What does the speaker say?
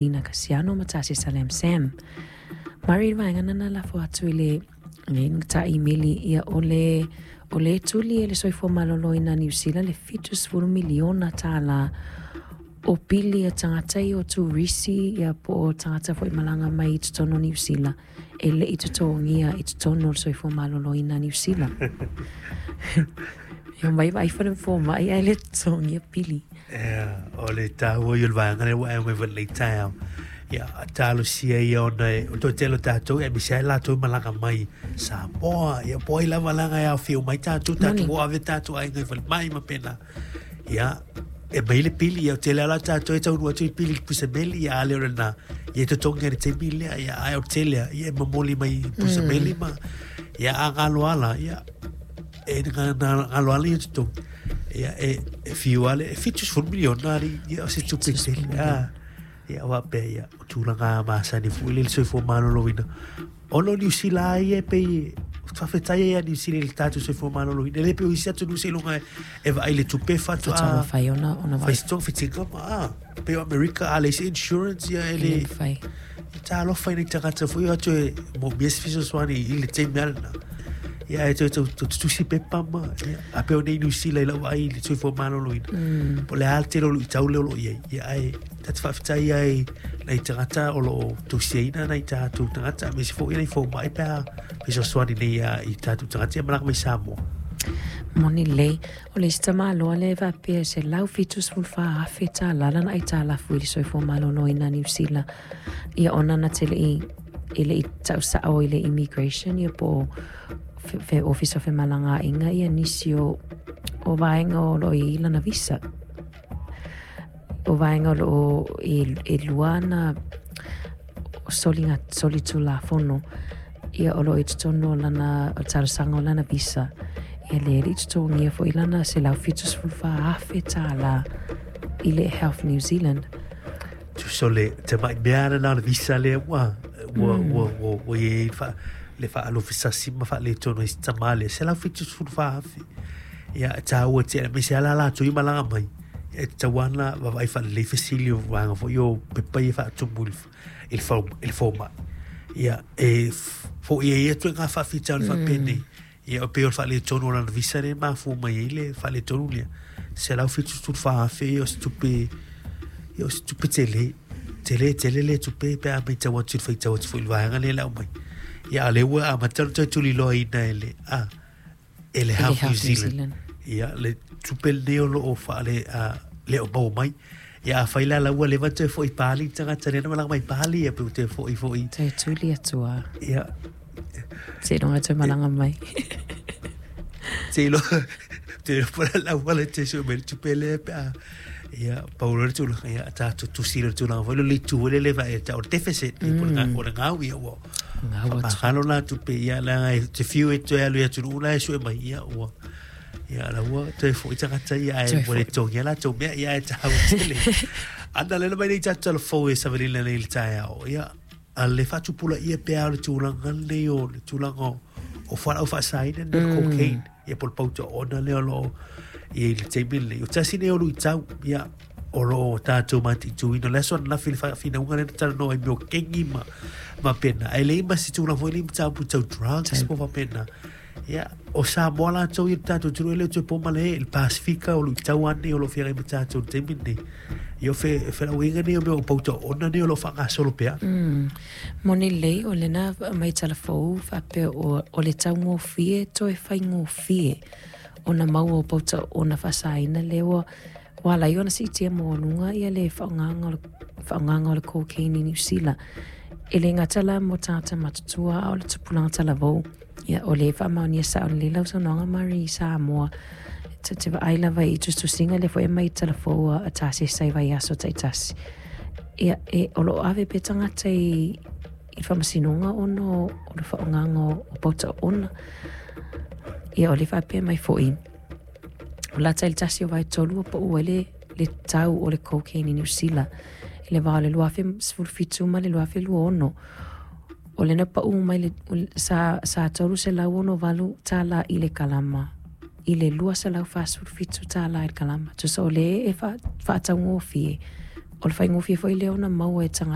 Lina Kasiano ma Tasesa Lam Sam. Mari vaega na lafo atu i le taimeli ia o le o le tuli e le soifua maloloina Niu Sila le $70 miliona o pili a tagata ia o turisi ia po o tagata foi malaga mai i totonu o Niu Sila e le i totogia i totonu o le soifua maloloina Niu Sila. Ia mai vai fale fomai ae le totogia pili. Ia, o le tāua i o le vaega lea ua e mai lenei taeao. Ia, talosia ia ona e, o toe tele o tātou, e misi ai latou malaga mai Samoa, ia po ai lava laga e aofia mai tātou, tātou o ave tātou aiga i falemai ma pena. Ia, e mai le pili, ia o tele ala tātou e taunu atu i pili i pusameli, ia ale o lena, ia e totogi i le taimi lea, ia ai o tele, ia e momoli mai i pusameli ma, ia a galo ala, ia, e galo ala ia totogi. Ia, e fiu ale, e 70 miliona ari, ia o se tupe tele. Ah, ia wa pe ia, o tulaga masani fu le soifua maloloina. Ona o Niu Sila ai e pei faafetai ai ia Niu Sila i le tatou soifua maloloina. E le pei o isi atunuu seiloga e vaai le tupe faatoa Faatoa mafai ona fai se fitiga ma ah, pei o Amerika a leai se insurance ia e le le mafai. Talofa i nei tagata foi o atu e moomia se fesoasoani i le taimi a lena. Ia e toe tutusi pepa ma ia, a pei o nei Niu Sila i lau vaai i le soifua maloloina. Po o le a le tele o luitau lea o lo o i ai. Ia ae ta te faafetai ai nai tagata o lo o tausiaina nai tatou tagata aemaise foi nai fomai pe a fesoasoani nei i tatou tagata ia malaga mai Samoa. Moni lelei. O le isi tamāloa lea e faapea e $174,000 lana aitalafu i le soifua maloloina Niu Sila. Ia ona na te lei e le i tausao i le immigration ia po o fe ofisa o femalagaaiga ia nisi o vaega o lo o i lana visa. O vaega o lo o e lua ana soliga solitulafono ia o lo o i totonu o lana o le talosaga o lana visa. Ia le le i totogia foi lana $174,000 i le Health New Zealand. Tusa o le tamai mea lena o le visa lea ua i ai le faalofisasi ma faaletonu ai se tamā lea, 174,000. Ia, e tāua tele, aemaise lava latou ia malaga mai. E tatau lava ona vaavaai faalelei fesili o vaega foi o pepa ia faatumu i le fomai. Ia, e foia ai ia ituaiga faafitauli faapenei. Ia, e pei o le faaletonu o lana visa lea e mafua mai ai le faaletonu lea. 174,000 ia o se tupe, ia o se tupe tele. Tele tele le tupe pe a matau atu i le faitau atu foi i le vaega lea le aumai. Ia, a o lea ua amata ona toe tuliloaina e le Health New Zealand. Ia, le tupe lenei o lo o faale le o maua mai. Ia, afai la la ua leva toe foi pali tagata lea na malaga mai pali ia pe ua toe foi foi. Toe tuli atu a. Ia. Seiloga toe malaga mai. Seiloga po la ua le te sue mai le tupe lea pe a ia pau loa le tulaga ia tatou tusi le tulaga foi le itu foi lele e tau o le deficit ia po o le gau ia ua Gau atu. Faamagalo la tupe ia leaga e te fiu e toe alu i atunuu la e sue mai ia ua ia la ua toe foi tagata ia ae Toe ua le foi. togia latou mea ia ae taua tele. Ana lena mai nei tatou talafou e savalina nei i le taeao ia a le faatupulaia pea o le tulaga lenei o le tulaga o fualaau faasaina nei o le cocaine ia po o le pautoona lea o lo o i le taimi lenei. O tasi nei o luitau ia o lo o tatou mataituina. O le aso ananafi le faafinauga lea na talanoa ai mea o kengi ma pena. Ae leai ma se tulaga foi lea i mataupu tau drugs po faapena. Ia, o Samoa latou ia le tatou atunuu e le o toe po ma le le Pasifika o luitau lava nei o lo o feagai ma tatou i le taimi lenei. Ia o felauaiga nei o mea o pautoona nei o lo o faagasolo pea. Moni lelei o lena mai talafou faapea o le taugofie toe faigofie ona maua o pautaona faasaina lea ua ala ai ona siitia maualuga ia le faaaogaga o le cocaine i Niu Sila. E le gata la mo tagata matutua a o le tupulaga talavou. Ia o le faamaonia sao lelei lau saunoaga Mari i Samoa. Te vaai lava i tusitusiga lea foi e mai talafou a tasesa i vaiaso taitasi. Ia e o lo o ave pea tagata i le faamasinoga ona o le faaaogaga o pautaona. Ia o le faapea mai foi o lata i le 1/3 ua pau ai le tau o le cocaine i Niu Sila i le va o le 2017 ma le 2026. O lena pau mai le sa $368 i le kalama i le $247 i le kalama. Tusa o le e faataugofie o le faigofie foi lea ona maua e tagata.